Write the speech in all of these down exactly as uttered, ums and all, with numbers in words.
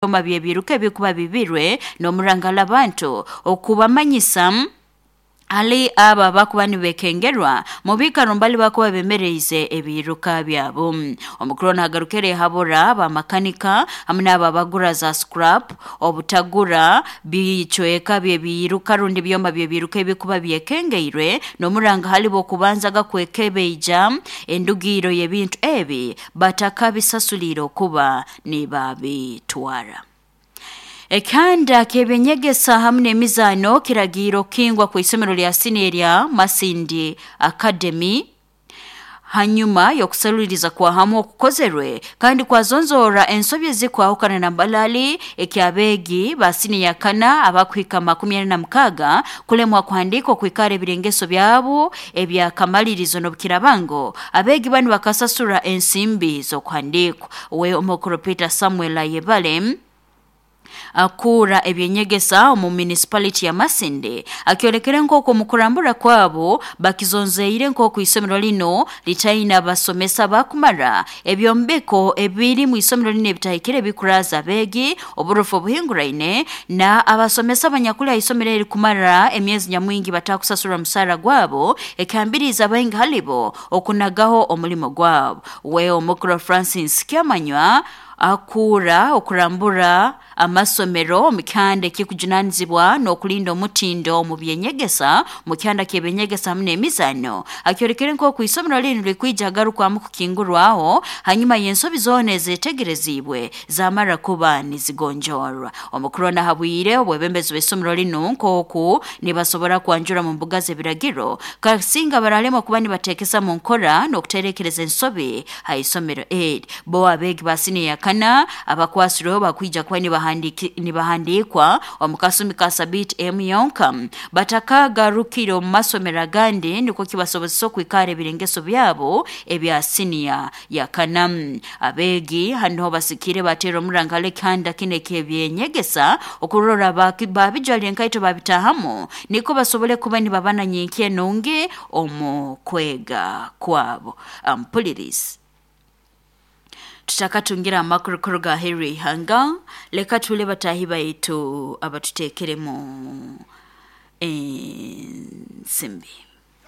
Ebyoma by'ebiruka ebikuba bibirwe n'omurangala abantu okubamanyisa hali abo abakuba nibekengerwa mu biikaro mbali bakuba bemereize ebiiruka byabo. Omukuru nagarukire habura bamakanika hamwe n'abo abagura za scrap obutagura bicweka by'ebiiruka rundi byoma by'ebiiruka ebikuba byekengeirwe n'omuranga hali bokubanzaga kwekebeija endugiro y'ebintu ebi batakabisasulire okuba nibabitwara. Ekihanda ky'ebyenyegesa hamwe n'emizaano kiragiire okukingwa kw'isomero lya siniya erya Masindi Academy hanyuma y'okusaluriza kwa hamu okukozerwe kandi kwazonzora ensobi ezikwahukana na mbalali eky'abeegi ba siniya kana abakuhika makumi ana na mukaaga kulemwa kuhandiika okwikara ebirengeso byabo ebyakamalirizo n'obukirabango abeegi banu bakasasura ensimbi z'okuhandiikwa. We omukuru Peter Samuel Ayebale akuura ebyenyegesa omu municipality ya Masindi akyolekere nk'oku omu kurambura kwabo bakizonzeire nk'oku isomero lino litaine abasomesa bakumara ebyombeko ebiri mu isomero lino ebitahikire ebikuraza abeegi oburofu obuhinguraine na abasomesa abanyakuli aha isomero eri kumara emyezi nyamwingi batakusasurwa musaara gwabo ekihambiriize abaingi halibo okunagaho omulimo gwabo. We omukuru Francis Kyamanywa akuura okurambura amasomero omu kihanda ekikujunanizibwa n'okulinda omutindo omu byenyegesa mu kihanda ky'ebyenyegesa hamwe n'emizaano akyolekere nk'oku isomero linu likwija agarukwamu kukingurwaho hanyuma y'ensobi zoona ezetegereziibwe zamara kuba nizigonjorwa. Omukuru nahabwire obwebembezi bw'isomero linu nk'oku nibasobora kwanjura mu mbuga z'ebiragiro kasinga baralemwa kuba nibateekesa mu nkora n'okuterekereza ensobi ha isomero eri. Bo abeegi ba siniya kana abakwasirweho bakwija kuba nibahandiki nibahandikwa omu kasumi ka sabiiti emu yonka batakagarukire omu masomero agandi nikwo kibasobozesa okwikara ebirengeso byabo ebya siniya ya kana. Abeegi hanoho basikire bateera omuranga ekihanda kinu eky'ebyenyegesa okurora babijwalire enkaito babitahamu nikwo basobole kuba nibabana nyenkya enungi omu kwega kwabo. Ampulirizi tutakatungira amakuru kuruga aheeru y'ihanga leka tule bataahi baitu abatuteekeremu ensimbi.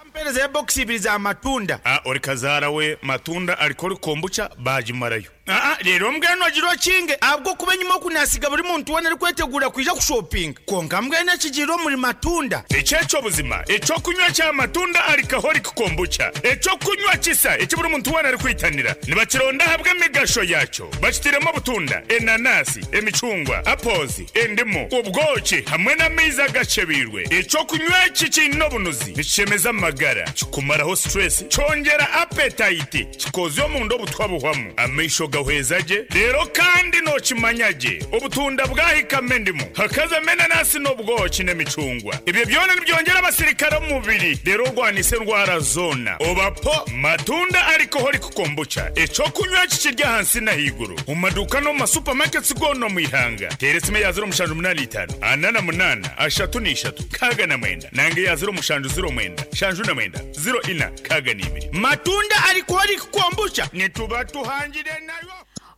Mpereza ebokisi ibiri za matunda. Ah, ori kazaara we matunda alikora kombucha bagimarayo. Aa, rero mbwenu agira okinge ahabw'okuba enyuma okunasiga buri muntu weena arikwetegura kwija kushopinga konka mbwenu ekigiire omuri matunda. Ekyekyo buzima ekyokunywa kya matunda alcoholic kombucha ekyokunywa kisa eki buri muntu weena arikwitanira nibakironda ahabw'emigasho yakyo bakitiremu obutunda, enanasi, emicungwa, apples, endimu, obwoki hamwe n'amaizi agacebiirwe. Ekyokunywa eki kiine obunuzi nikishemeza amagara kikumaraho stress kyongera appetite kikozya omunda obutwa buhwamu amaisho gahweza gye rero kandi nokimanya gye obutunda bwahikamo endimu hakazamo enanasi n'obwoki n'emicungwa ebyo byona nibyongera abasirikare omu mubiri rero orwanisa endwara zoona obapo matunda alcoholic kombucha ekyokunywa kikirya ahansi n'ahaiguru omu maduuka n'omu masupamaketi goona omu ihanga. Teera esimu eya ziro mushanju munaana itaano ana na munaana ashatu n'ishatu nkaaga na mwenda nange eya ziro mushanju ziro mwenda shanju na mwenda ziro ina nkaaga n'ibiri. Matunda alcoholic kombucha nituba tuhangire nayo.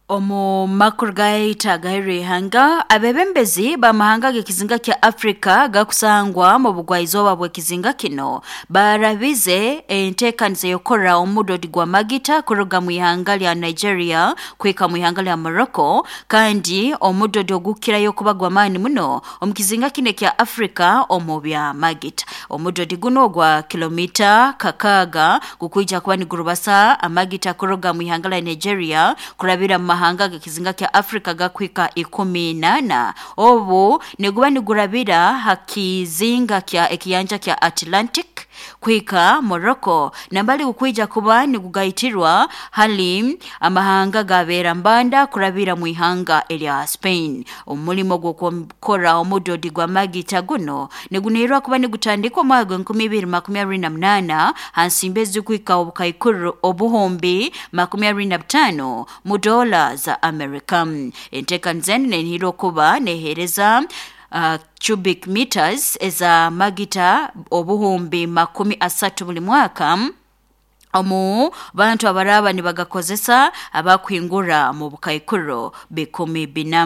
Omu makuru gaitu agaheeru y'ihanga abebembezi b'amahanga g'ekizinga kya Afrika gakusangwa mu bugwaizooba bw'ekizinga kino barabize enteekaniza y'okukora omudodi gwa magita kuruga mu ihanga lya Nigeria kuhika mu ihanga lya Morocco kandi omudodi ogukirayo kuba gw'amaani muno omu kizinga kino ekya Afrika omu bya magita. Omudodi guno ogwa kilomita kakaaga gukwija kuba nigurubasa amagita kuruga mu ihanga lya Nigeria kurabira mu mahanga g'ekizinga kya Afrika gakuhika ikumi nana obu niguba nigurabira ha kizinga kya ekiyanja kya Atlantic kuhika Morocco nambali gukwija kuba nigugaitirwa hali amahanga gabeera mbanda kurabira mu ihanga erya Spain. Omulimo gw'okukora omudodi gwa magita guno nigunihirwa kuba nigutandikwa omwaka gw'enkumi ibiri makumi abiri na munaana ha nsimbi ezikuhika obukaikuru obuhumbi makumi abiri na butaano mu dola za America. Enteekaniza enu nenihirwa okuba neheereza uh, cubic meters eza magita obuhumbi makumi asatu buli mwaka Omu bantu abaraba nibagakozesa abakuhingura mu bukaikuro bikumi bina.